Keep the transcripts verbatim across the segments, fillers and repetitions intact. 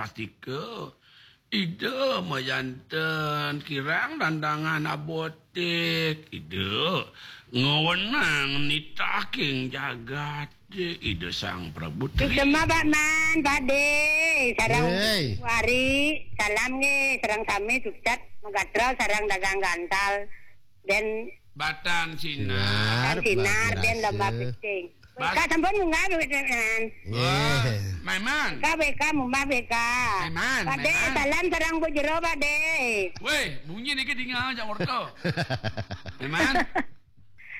Pastika, Ida mayanten kirang dandangan abotik, Ida ngawenang nitaking jagat, Ida Sang Prabu Tri. Suksema, Pak Man, Pak De, sareng Hei. Wari, salam nggih, sareng sami sukses, magatra sareng dagang gantal, dan Batan Sinar. Sinar, Batan Sinar, dan lomba picing. Bas- Weka sampun munggah, Pak Man. Wah, Nggih. Maiman. Weka, weka, munggah weka. Maiman, Pak De, Maiman. Salam sareng Bu Jero, Pak De. Weh, bunyi niki dinga jak ngorto. Maiman.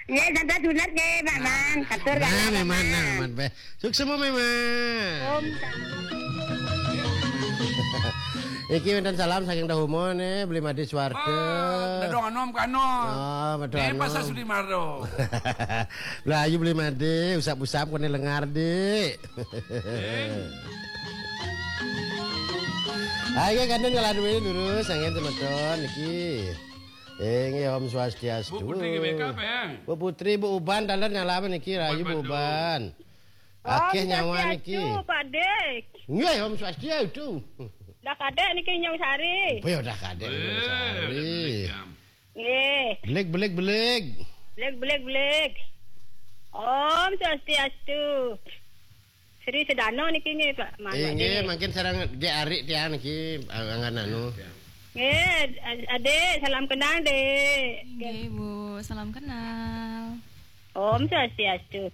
Nggih, santai sunat nggih, Pak Man. Katur Nah, kalian, Maiman, Pak nah, Man. Maiman, beh. Suksema, Maiman. Om. Iki wonten salam saking Dahumo nih, Beli Made Suwardi. Wah, dadong anom kano. Oh, betul. Ini anom. Pasar Sudi Maro. Lah, ayo Beli Made, usap-usap kene lengar, Dik. Eh. Ayo, kanten ngeladuin dulu, sangen temeton, iki. Eh, nggih, Om Swastiastu. Bu Putri nggih, wake up, ya? Bu Putri, Bu Uban, taler nyalaman niki, rahayu Bu Uban. Akeh nyawa niki. Om Swastiastu, Pak Dik. Nggih, Om Swastiastu. Dah kadek niki Nyong Sari. Apa ya dah kadek Nyong Sari? Nggih. Belik, belik, belik. Belik, belik, belik. Om Swastiastu. Sri Sedano niki nggih, Pak. Eh, nggih, mangkin sareng Dek Arik tiang niki, angan anu. Nggih, Adik, salam kenal, Dik. Nggih, Bu. Salam kenal. Om Swastiastu.